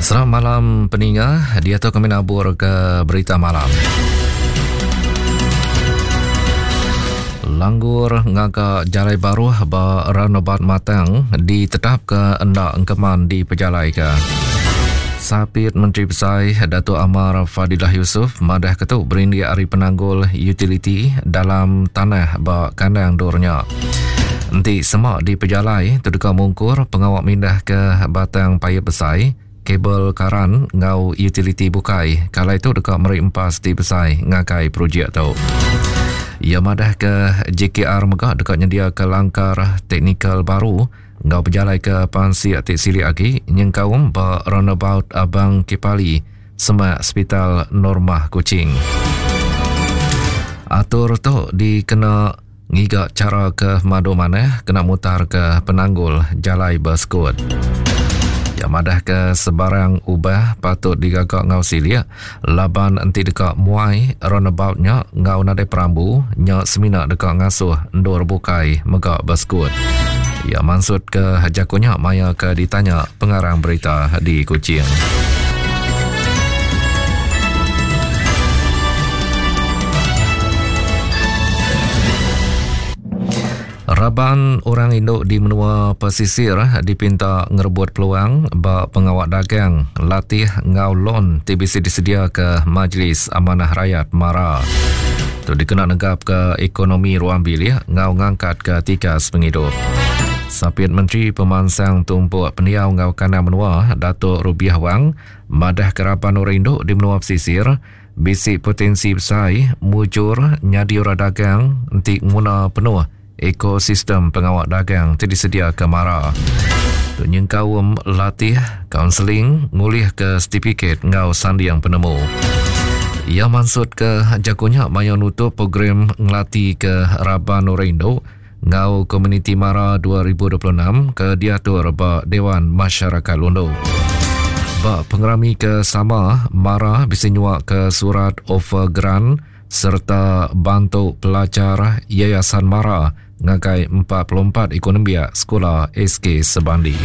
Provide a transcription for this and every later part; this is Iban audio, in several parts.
Selamat malam peninga, diatu kami nabur ke berita malam. Langgur ngaga jalai baruh ba roundabout Matang ditetapka enda engkeman dipejalaika. Sapit Menteri Besai Datuk Amar Fadillah Yusof madah ke tu berindik ari penanggul utiliti dalam tanah ba kandang endur nya. Enti sema dipejalai tu deka mungkur pengawa mindah ke batang paip besai, kabel karan enggau utiliti bukai ke alai tu deka meri empas ti besai ngagai projek tu. Iya madah ke JKR mega deka nyendiaka langkar teknikal baru enggau bejalaika pansik ti silik agi nyengkaum ba roundabout Abang Kipali semak Sepital Normah Kuching. Atur tu dikena ngiga chara ke madu manah kena mutarka penanggul jalai besekut. Iya madahka sebarang ubah patut digaga enggau silik laban enti deka muai roundabout nya enggau nadai perambu nya semina deka ngasuh endur bukai mega besekut. Iya mansutka jaku nya maya ke ditanya pengarang berita di Kuching. Raban orang indu di menua pesisir dipinta ngerebut peluang ba pengawa dagang, latih enggau lon ti bisi disediaka Majlis Amanah Rayat Mara. Tu dikena negapka ekonomi ruang bilik enggau ngangkatka tikas pengidup. Sapit Menteri Pemansang Tumpuk Pendiau enggau Kandang Menua Datuk Rubiah Wang madahka raban orang indu di menua pesisir Bisi potensi besai mujur nyadi orang dagang enti nguna penuh ekosistem pengawa dagang ti disediaka Mara. Tu nyengkaum latih, kaunseling, ngulihka setipikit enggau sanding penemu. Iya mansutka jaku nya maya nutup program ngelatika raban orang indu enggau Komuniti Mara 2026 ke diatur ba Dewan Masyarakat Lundu. Ba pengerami ke sama, Mara bisi nyuaka surat offer grant sereta bantu pelajar Yayasan Mara ngagai 44 iku nembiak sekula SK Sebandi.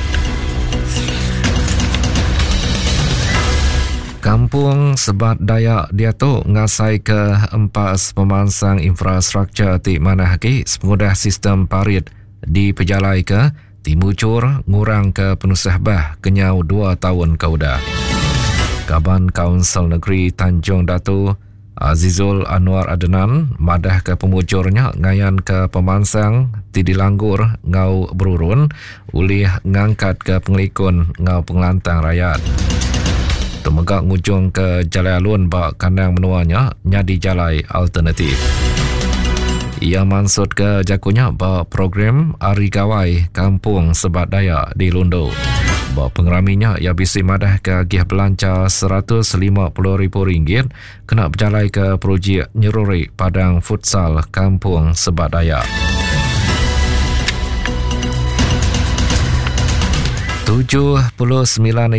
Kampung Sebat Dayak diatu ngasaika empas pemansang infrastruktur ti manah agi sepengudah sistem parit dipejalaika ti mujur ngurangka penusah bah kenyau dua taun ke udah. Kaban Kaunsil Negeri Tanjung Datu, Azizul Anwar Adenan madahka pemujur nya ngayanka pemansang ti dilanggur enggau berurun ulih ngangkatka pengelikun enggau pengelantang rayat. Tu mega ngujungka jalai alun ba kandang menua nya nyadi jalai alternatif. Iya mansutka jaku nya ba program Hari Gawai Kampung Sebat Dayak di Lundu. Ba pengerami nya iya bisi madahka agih belanja RM150,000 kena bejalaika projek nyeruri padang futsal Kampung Sebat Dayak. 79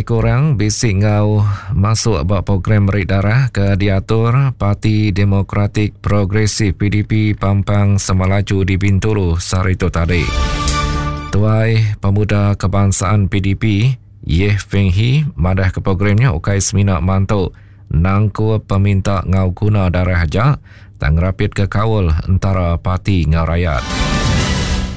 iku orang bisi enggau masuk ba program meri darah ke diatur Parti Demokratik Progresif PDP Pampang Samalaju di Bintulu sehari tu tadi. Tuai Pemuda Kebangsaan PDP, Yeh Feng Hee madah ke program nya ukai semina mantu nangkup peminta enggau guna darah aja tang ngerapitka kaul entara parti enggau rayat.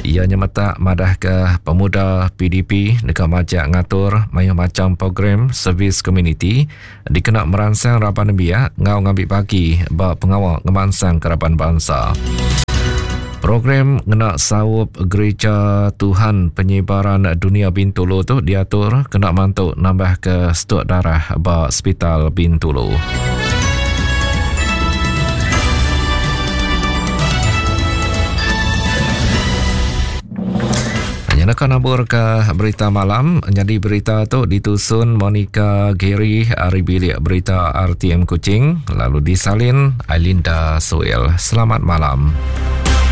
Iya nyemetak madahka pemuda PDP deka majak ngatur mayuh macham program servis komuniti dikena meransang raban nembiak enggau ngambi bagi ba pengawa ngemansangka raban bansa. Program ngena saup Gereja Tuhan Penyebaran Dunia Bintulu tu diatur kena mantu nambahka stuk darah ba Sepital Bintulu. Nyenaka nabur ke berita malam nyadi berita tu ditusun Monica Gary ari bilik berita RTM Kuching lalu disalin Ailinda Suel. Selamat malam.